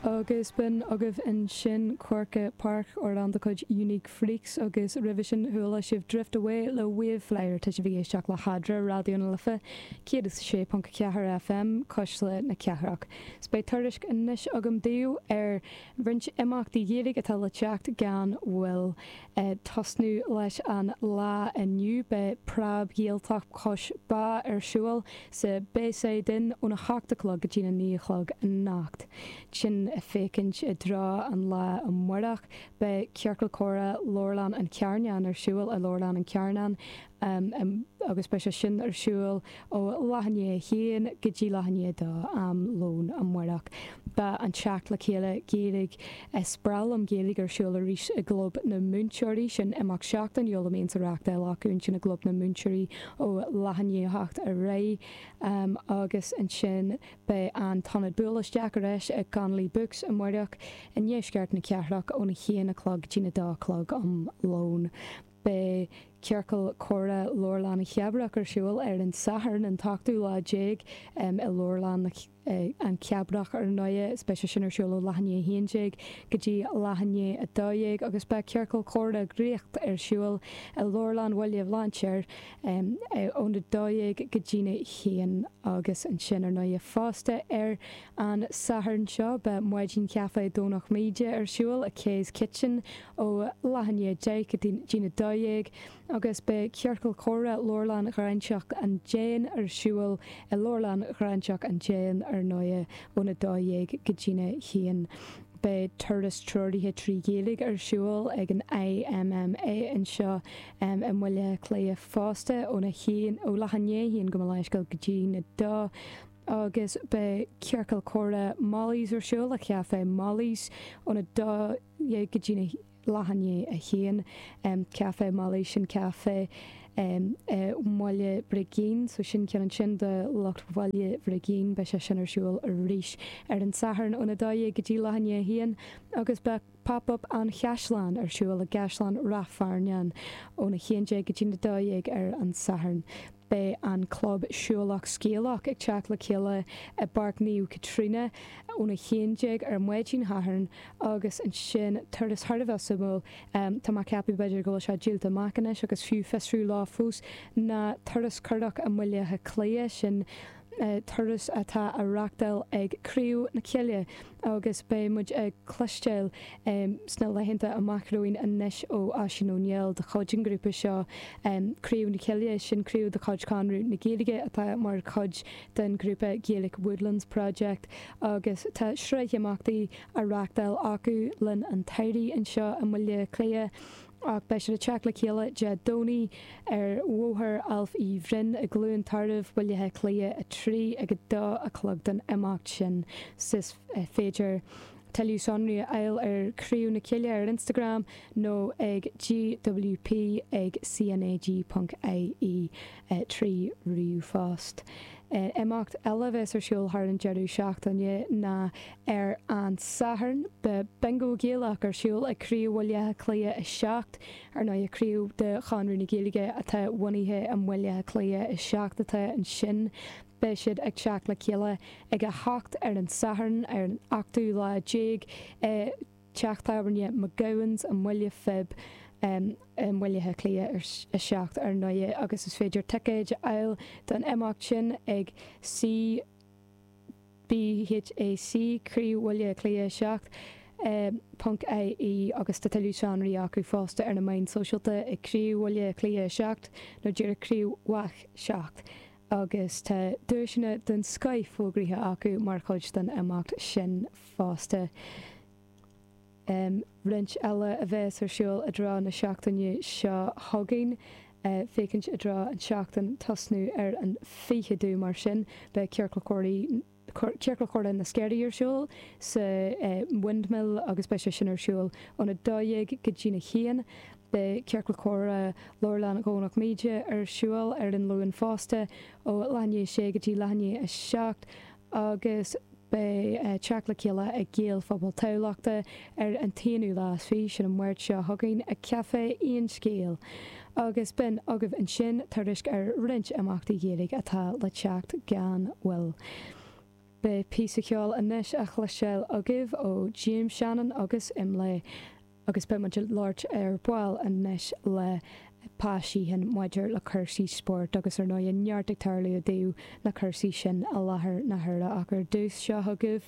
Agus b'in agaibh ansin Corkagh Park, amhrán de chuid Unique Freaks agus roimhe sin chuala sibh Drift Away le Waveflyer. Tá sibh ag éisteacht le hEadra, Raidió na Life 106.4 FM, Cuisle na Cathrach. 'S beidh tuairisc anois agam daoibh ar roinnt imeachtaí Gaeilge atá le teacht gan mhoill. Ag tosnú leis an lá inniu, beidh Preab Ghaeltacht Chois Bá ar siúl sa Bayside Inn óna hocht a chlog go dtína naoi a chlog anocht. Ansin ag féachaint i dtreo an lá amárach, beidh Ciorcal Comhrá Leabharlann an Charnáin ar siúl i Leabharlann an Charnáin. agus beidh sé sin ar siúl ó leath i ndiaidh a haon go dtí leath i ndiaidh a dó am lóin amárach. Beidh an teacht le chéile Gaeilge Is Breá Liom Gaeilge ar siúl arís i gClub na Múinteoirí, sin imeacht seachtainiúil a mbíonns á reachtáil acu ansin i gClub na Múinteoirí ó leath i ndiaidh a hocht ar aghaidh agus ansin beidh an t-ionad buail isteach ar ais i Connolly Books amárach i ndeisceart na cathrach óna haon a chlog go dtína dó a chlog um lón. Beidh Ciorcal Comhrá Leabharlann na Cathrach ar siúl ar an Satharn an t-ochtú lá déag i Leabharlann an Cheabrach ar ndóighe. Is beidh sé sin ar siúl ó leath i ndiaidh a haon déag go dtí leath i ndiaidh a dó dhéag agus beidh Ciorcal Comhrá Dhraíocht ar siúl i Leabharlann Bhaile Bhlainséir óna dó dhéag go dtína haon agus ansin ar ndóighe fosta ar an Satharn seo beidh Maidin Chaife Dhomhnach Míde ar siúl i Kay's Kitchen ó leath i ndiaidh 10 go dtína 12 agus beidh Ciorcal Comhrá Leabharlann Ghráinseach an Déin ar siúl i Leabharlann Ghráinseach an Déin ar ndóighe óna 12 go dtína 1. Beidh turas treoraithe 3 Ghaeilge ar siúl ag an IMMA anseo i mBaile Átha Cliath fosta óna haon, ó leath i ndiaidh a haon gabh mo leithscéal go dtína dó agus beidh Ciorcal Comhrá Molly's ar siúl i Café Molly's óna 12 go dtí leath i ndiaidh a haon. Café Molly's, sin caife i mBaile Brigín, so sin ceann ansin do lucht Bhaile Bhrigín. Beidh sé sin ar siúl arís ar an Satharn óna 12 go dtí leath i ndiaidh a haon agus beidh Pop Up an Chaisleáin ar siúl i gCaisleán Ráth Fearnáin óna 11 go dtí 12 ar an Satharn. Beidh an Club Siúlach Scéalach ag teacht le chéile i bPáirc Naomh Caitríona óna 11 ar maidin Shathairn agus ansin turas thar a bheith suimiúil, tá mé ag ceapadh b'fhéidir go bhfuil sé díolta amach anois agus fiú fiosrú leo fós, ná turas curach i mBaile Átha Cliath, sin turas atá á reachtáil ag Craobh na Cille agus beidh muid ag cloisteáil sna laethanta amach romhainn anois ó Oisín Ó Néill de chuid an ghrúpa seo, Craobh na Cille, sin craobh de chuid Chonradh na Gaeilge atá mar chuid den ghrúpa Gaelic Woodlands Project agus tá sraith imeachtaí á reachtáil acu linn an tsamhraidh anseo i mBaile Átha Cliath. Ach beidh siad ag teacht le chéile Dé Domhnaigh ar Bhóthar Ailf Uí Bhroin i gCluain Tarbh, Baile Átha Cliath 3 ag 2 a chlog don imeacht sin. Is féidir tuilleadh sonraí a fháil ar Chraobh na Cille ar Instagram nó ag gwp ag cnag.ie 3 ríomhphost. Imeacht eile a bheas ar siúl thar an deireadh seachtaine ná ar an Satharn. Beidh Bingo Gaelach ar siúl ag Craobh Bhaile Átha Cliath 7. Ar ndóigh, craobh de Chonradh na Gaeilge atá bunaithe i mBaile Átha Cliath 7 atá ansin. Beidh siad ag teacht le chéile ag 8 ar an Satharn, ar an ochtú lá déag i Teach Tábhairne McGowan's i mBaile Phib i mBaile Átha Cliath 7 ar ndóighe agus is féidir ticéid a fháil don imeacht sin ag CBHAC, Craobh Bhaile Átha Cliath 7, ponc ie agus tá tuilleadh sonraí acu fosta ar na meáin sóisialta ag Craobh Bhaile Átha Cliath 7 nó díreach Craobh BHÁC 7 agus tá duaiseanna den scoith fógraithe acu mar chuid den imeacht sin fosta. Roinnt eile a bheas ar siúl i dtreo na seachtaine seo chugainn, féachaint i dtreo an tseachtain tosnú ar an 20ú mar sin, beidh Ciorcal Ciorcal Comhrá na Sceirí ar siúl sa Windmill agus beidh sé sin ar siúl óna 12 go dtína haon. Beidh Ciorcal Comhrá Leabharlann Dhomhnach Míde ar siúl ar an Luan fosta ó leath i ndiaidh a sé go dtí leath i ndiaidh a 7 agus beidh teacht le chéile ag Gaelphobal Thamhlachta ar an t-aonú lá is fiche, sin an Máirt seo chugainn, ag Café Aon Scéal. Agus b'in agaibh ansin tuairisc ar roinnt imeachtaí Gaeilge atá le teacht gan mhoill. Beidh píosa ceoil anois á chloisteáil agaibh ó James Shannon agus Imlé agus beidh muid ag labhairt ar ball anois le Pa Sheehan maidir le cúrsaí spóirt agus ar ndóigh neart ag tarlú i dtaobh na cúrsaí sin i láthair na huaire ach ar dtús seo chugaibh.